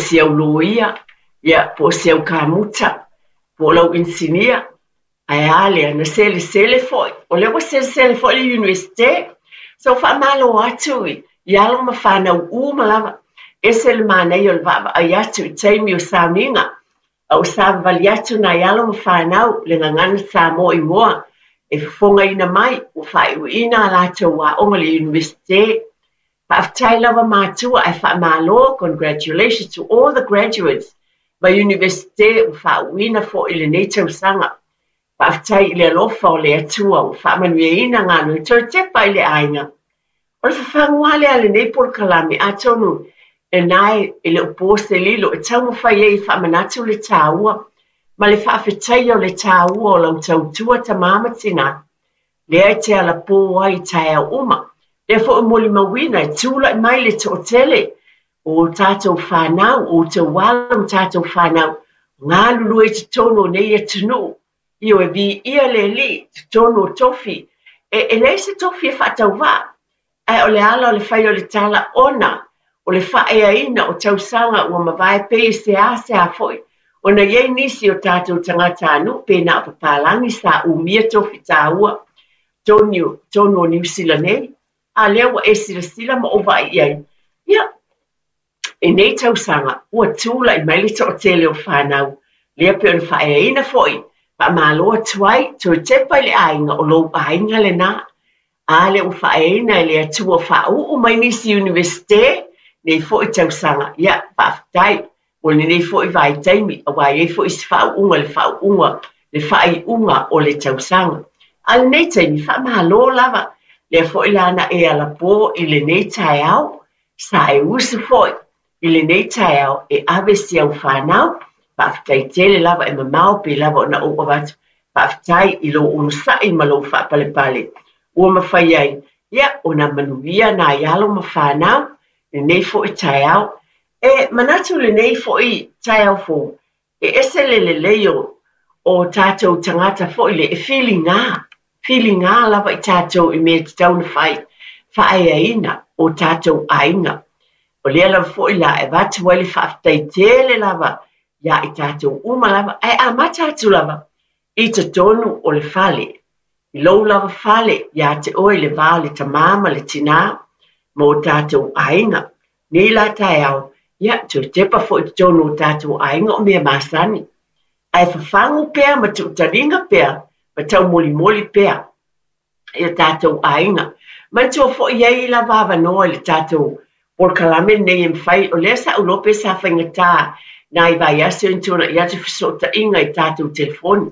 si au loia, ia, po o si au kamuta, po o lau inisinia. Ae a lea, na selesele foi, o lea ua selesele foi le Iunivesite. So faamalo atu i alo ma fanau uma lava. Ese le manaia o le vaavaai atu i taimi o sauniga, a ua savavali atu nai alo ma fanau le Gagana Samoa Igoa e fofogaina mai ua faaiuina a latou aoga i le Iunivesite. Faafetai lava matua ae faamalo, congratulations to all the graduates mai Iunivesite ua faauuina foi i lenei tausaga. Faafetai i le alofa o le Atua ua faamanuiaina galuega toe tepa i le aiga. O le fafagu lava lea a lenei polokalame, atonu lena e le o po se lilo e taumafai ai e faamanatu le taua ma le faafetaia o le taua o lau tautua tama ma tina, lea e te alapō ai i taeao uma. Lea foi ua molimauina e tulai mai le toatele o tatou fanau, o outou alo ma tatou fanau, galulue i totonu o nei atunuu. Ioe, viia le Alii i totonu o tofi. E, e leai se tofi e faatauvaa, ae o le ala o le fai o le tala ona o le faaeaina o tausaga ua mavae pei e seasea foi ona i ai nisi o tatou tagatanuu pe na o papalagi sa umia tofi taua totonu o Niu Sila nei, a lea ua e silasila ma ou vaai i ai, ia, i nei tausaga ua tulai mai le toatele o fanau, lea pei ona faaeaina foi, faamalo atu ai, toe tepa i le aiga, o lou aiga lena. A lea ua faaeaina e le Atua faauu mai nisi Iunivesite nei foi tausaga, ia, faafetai mo lenei foi vaitaimi, aua e i ai foi isi faauuga i le faauuga, le faaiuga o le tausaga. A o lenei taimi, faamalo lava, lea foi la na e alapō i lenei taeao, Sa e usu foi i lenei taeao e ave si au fanau, faafetai tele lava e mamao pei lava ona ou avatu faafetai i lou onosai ma lou faapalepale ua mafai ai ia ona manuia nai alo ma fanau lenei foi taeao. E manatu lenei foi taeao fou E ese le lelei o o tatou tagata foi le e filiga, filiga lava i tatou i mea e tatau ona fai, faaeaina o tatou aiga. O lea lava foi la e avatu ai le faafetai tele lava iā i tatou uma lava, ae amata atu lava i totonu o le fale, i lou lava fale iā te oe i le va o le tamā ma le tinā ma o tatou aiga. Nei la taeao, ia, toe tepa foi i totonu o tatou aiga o mea masani. Ae fafagu pea ma tuutaliga pea ma taumolimoli pea i o tatou aiga. Manatua foi e i ai lava avanoa i le tatou polokalame lenei e mafai, o lea sa ou iloa pe sa faigata nai vaiaso ina tuanai atu fesootaiga i tatou telefoni.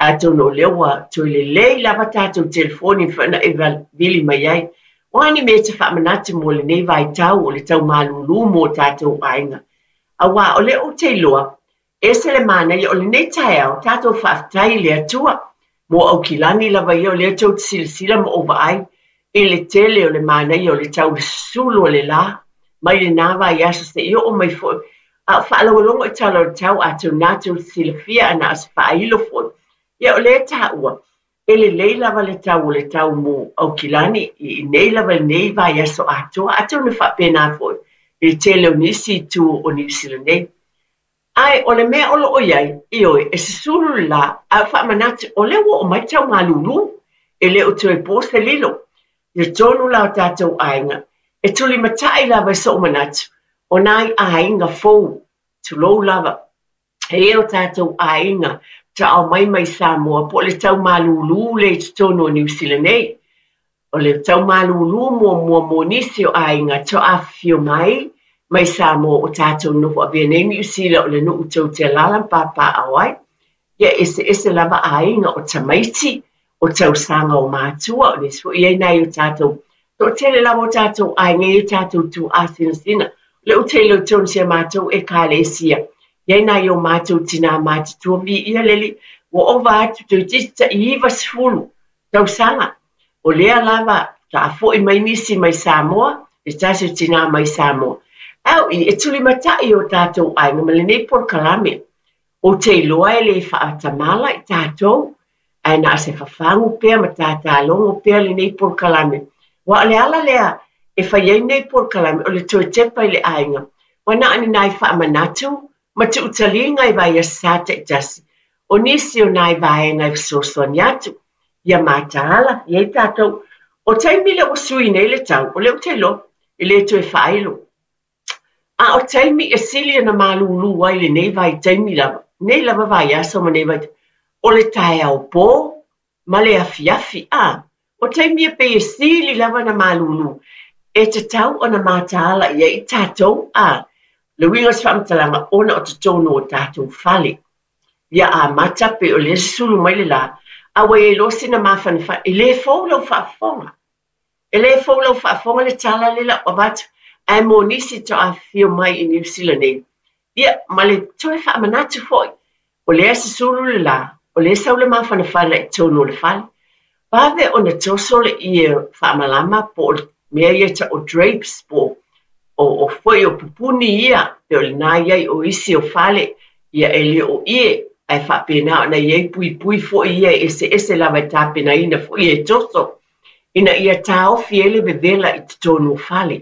Atonu o lea ua toe lelei lava tatou telefoni e mafai ona e vili mai ai. O a ni mea e te faamanatu mo lenei vaitau o le tau malūlū mo o tatou aiga? Aua o lea ou te iloa, ese le manaia o lenei taeao, tatou faafetai i le Atua mo Aukilani lava ia o lea tou te silasila ma ou vaai i le tele o le manaia o le tau susulu o le lā mai lenā vaiaso seia oo mai foi a o faalogologo i tala o le tau atonu na tou te silafia a na o se faailo foi. Ia o lea e taua, e lelei lava le tau o le tau mo Aukilani i nei lava i lenei vaiaso atoa, atonu e faapena foi i le tele o nisi itu o Niu Sila nei. Ae o le mea o lo o i ai, ioe, e susulu le lā, ae o faamanatu, o lea ua oo mai tau malūlū, e le o toe po se lilo. I totonu la o tatou aiga, e tulimatai lava i so'u manatu, o nai aiga fou, tulou lava, e i ai o tatou aiga taao mai mai Samoa po o le tau malūlū lea i totonu o Niu Sila nei. O le tau malūlū muamua mo nisi o aiga toa afifio mai mai Samoa o tatou noho avea nei Niu Sila o le nuu tou te alaala ma papaaao ai. Ia eseese lava aiga o tamaiti, o tausaga o matua, o nisi foi i ai nai o tatou toatele lava o tatou aiga i ai tatou tuaa sinasina. O lea ou te iloa i totonu o si a matou Ekalesia, i ai nai o matou tinā matutua viia le Alii, ua ova atu toeitiiti tai 90 tausaga. O lea lava faatoa foi mai nisi mai Samoa, se tasi o tinā mai Samoa. Ae o i, e tulimatai o tatou aiga ma lenei polokalame. Ou te iloa e le faatamala i tatou, ae na o se fafagu pea ma tātālogo pea lenei polokalame. Aua o le ala lea e fai ai nei polokalame, o le toe tepa i le aiga. Ua na o ni nai faamanatu ma tuutaliga i vaiaso sa taitasi o nisi o nai vaega e fesoasoani atu ia mataala i ai tatou. O taimi lea ua sui nei le tau, o lea ou te iloa e le toe faailo. A o taimi e sili ona malūlū ai lenei vaitaimi lava, nei lava vaiaso ma nei vaitaimi, o le taeao pō ma le afiafi. A, o taimi ia pei e sili lava ona malūlū, e tatau ona mataala i ai i tatou. A, le uiga o se faamatalaga, ona o totonu o tatou fale. Ia amata pei o lea e susulu mai le la, a ua i ai loa sina mafanafana, e le fou lau faafofoga. E le fou lau faafofoga le tala lea ua avatu, ae mo nisi faatoa afifio mai i Niu Sila nei. Ia, ma le toe faamanatu foi, o lea e susulu le la, o lea e sau le mafanafana i totonu o le fale. Vave ona toso le ie faamalama po o le mea ia e tau o drapes po o, o foi o pupuni ia, pe o lena i ai o isi o fale, ia e le o ie, ae faapena ona i ai puipui foi ia e eseese lava e tapenaina foi e toso, ina ia taofi ai le vevela i totonu o fale.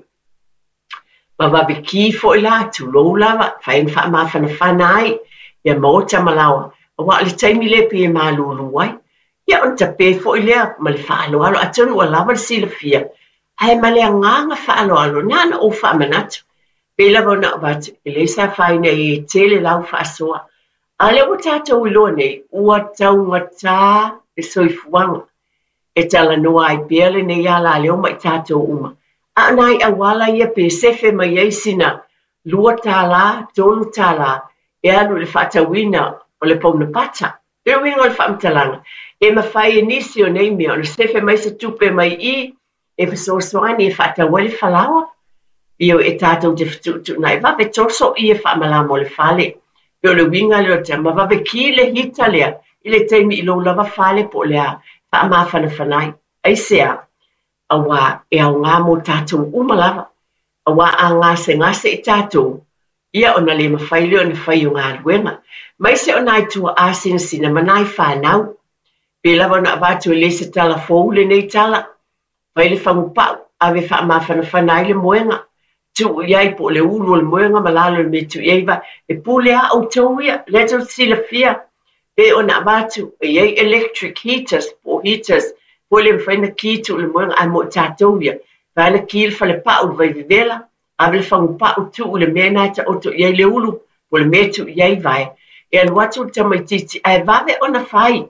Ma vave ki foi la, tulou lava, fai ona faamafanafana ai ia maota ma laoa, aua o le taimi lea pei e malūlū ai. Ia ona tape foi lea ma le faaaloalo, atonu ua lava le silafia, ae ma le agaga faaaloalo, na ona ou faamanatu. Pei lava ona avatu, e leai se afaina e tele lau faasoa. A lea ua tatou iloa nei, ua taugata le soifuaga. E talanoa ai pea lenei alaleo ma i tatou uma. A o nai auala ia pe sefe mai ai sina $2, $3 e alu i le faatauina o le pauna pata. Le uiga o le faamatalaga, e mafai e nisi o nei mea ona sefe mai se tupe mai i e fesoasoani e faatau ai le falaoa. Ia e tatou te fetuutuunai vave toso ie faamalama o le fale. Pe o le uiga lea o le ma vave ki le hita lea i le taimi i lou lava fale po o le a faamafanafana ai. Aisea? Aua e aoga mo tatou uma lava. Aua a gasegase i tatou, ia ona le mafai lea ona fai o galuega. Maise o nai tuaa sinasina ma nai fanau. Pe lava ona avatu e le se tala fou lenei tala. Fai le fagupau, ave faamafanafana ai le moega. Tuu i ai po o le ulu o le moega ma lalo i le mea tuu i ai va. E pule a outou ia, lea tou te silafia. Pe ona avatu, e i ai electric heaters, po o heaters, foi le mafai ona ki tuu le moega, ae mo i tatou ia. Fai ona ki le falepau, le vaivevela, ave le fagupau tuu i le mea na e taoto i ai le ulu, po o le mea tuu i ai vae. E alu atu le tamaitiiti, ae vave ona fai.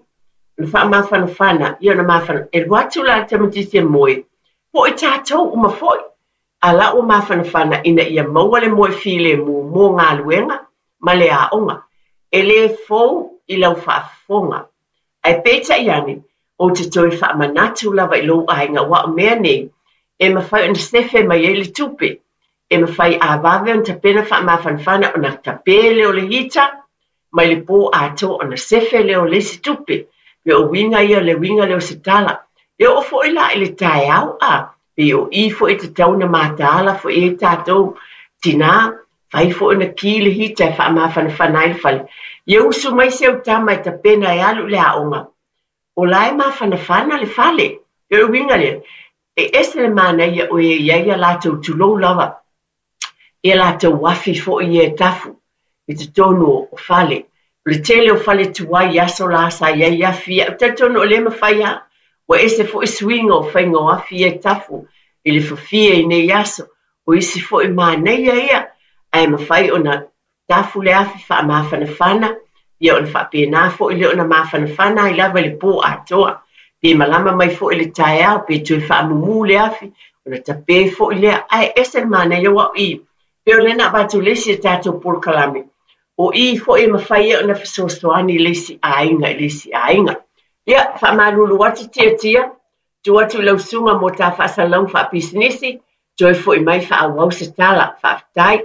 Ona faamafanafana, ia ona mafana. E alu atu la le tamaitiiti e moe, po o i tatou uma foi. A la ua mafanafana ina ia maua le moe filemu mo galuega ma le aoga. E le fou i lau faafofoga. Ae peitai ane, ou te toe faamanatu lava i lou aiga aua o mea nei, e mafai ona sefe mai ai le tupe. E mafai a vave ona tapena faamafanafana ona tape lea o le hita, mai le pō atoa ona sefe lea o le isi tupe. Pe o uiga ia le uiga lea o se tala. E oo foi la i le taeao a, pe o i foi e tatau ona mataala foi i ai tatou tinā, fai foi ona ki le hita e faamafanafana ai le fale. Ia usu mai si au tama e tapena e alu i le aoga. O la e mafanafana le fale. E o le uiga lea, e ese le manaia o e i ai a latou tulou lava, ia latou afi foi ia e tafu i totonu o fale. O le tele o fale tuai i aso la sa i ai afi ia. Ou te talitonu o lea e mafai lava. Ua ese foi suiga o faiga o afi ia e tafu i le fafie i nei aso. O isi foi manaia ia, ae mafai ona tafu le afi faamafanafana, ia ona faapena foi lea ona mafanafana ai lava i le pō atoa. Pe malama mai foi i le taeao, pe toe faamumu le afi, ona tape foi lea. Ae ese le manaia aua o i, pe o lea na avatu le isi o tatou polokalame, o i foi e mafai ai ona fesoasoani i le isi aiga i le isi aiga. Ia, faamalulu atu Tiatia, tuu atu i lau susuga mo ta faasalalauga faapisinisi, toe foi mai faaauau se tala. Faafetai.